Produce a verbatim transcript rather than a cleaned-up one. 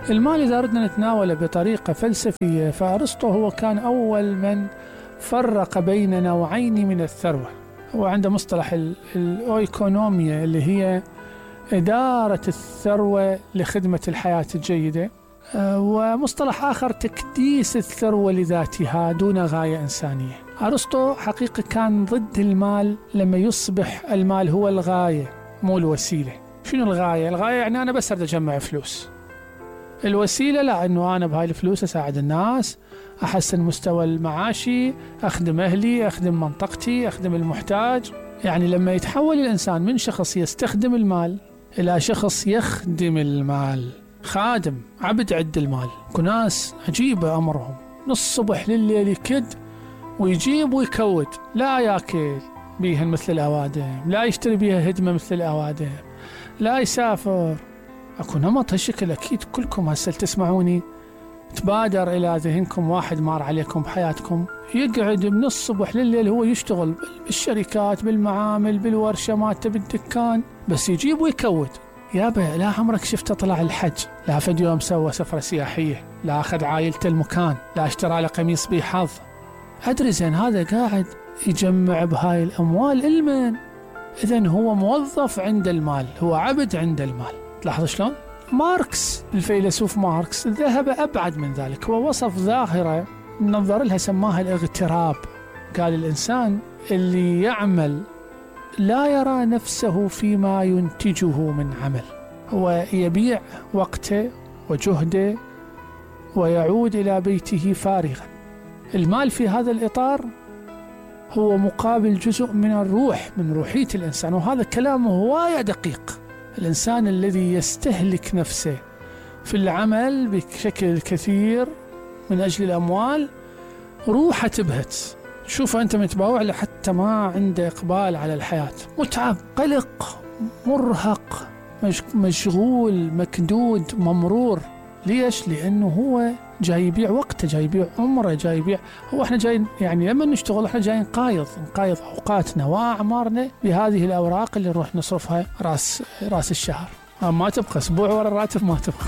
المال إذا أردنا نتناوله بطريقة فلسفية، فأرسطو هو كان أول من فرق بين نوعين من الثروة. هو عنده مصطلح الأويكونوميا اللي هي إدارة الثروة لخدمة الحياة الجيدة، ومصطلح آخر تكديس الثروة لذاتها دون غاية إنسانية. أرسطو حقيقة كان ضد المال لما يصبح المال هو الغاية مو الوسيلة. شنو الغاية؟ الغاية يعني أنا بس أريد أجمع فلوس. الوسيلة لا، أنه أنا بهاي الفلوس أساعد الناس، أحسن مستوى المعاشي، أخدم أهلي، أخدم منطقتي، أخدم المحتاج. يعني لما يتحول الإنسان من شخص يستخدم المال إلى شخص يخدم المال، خادم عبد عند المال. كناس عجيبة أمرهم، من الصبح لليل يكد ويجيب ويكود، لا ياكل بيها مثل الأوادم، لا يشتري بيها هدمة مثل الأوادم، لا يسافر. أكو نمط هالشكل. أكيد كلكم هسه تسمعوني تبادر إلى ذهنكم واحد مار عليكم بحياتكم يقعد من الصبح لليل هو يشتغل بالشركات، بالمعامل، بالورشة مالته، بالدكان، بس يجيب ويكود. يابا لا عمرك شفته طلع الحج، لا فد يوم سوى سفرة سياحية، لا أخذ عائلته المكان، لا اشترى له قميص بحظ. أدري زين هذا قاعد يجمع بهاي الأموال المن. إذن هو موظف عند المال، هو عبد عند المال. تلاحظ شلون؟ ماركس الفيلسوف ماركس ذهب أبعد من ذلك. هو وصف ظاهرة نظر لها سماها الاغتراب. قال الإنسان اللي يعمل لا يرى نفسه فيما ينتجه من عمل، هو يبيع وقته وجهده ويعود إلى بيته فارغا. المال في هذا الإطار هو مقابل جزء من الروح، من روحية الإنسان، وهذا كلامه هواية دقيق. الإنسان الذي يستهلك نفسه في العمل بشكل كثير من أجل الأموال روحه تبهت. شوفه أنت متباوع له حتى ما عنده إقبال على الحياة، متعب، قلق، مرهق، مشغول، مكدود، ممرور. ليش؟ لأنه هو جاي يبيع وقته، جاي يبيع عمره، جاي يبيع. هو احنا جايين يعني لما نشتغل احنا جايين نقايض نقايض أوقاتنا وأعمارنا بهذه الأوراق اللي نروح نصرفها راس راس الشهر. ما تبقى أسبوع ورا الراتب ما تبقى.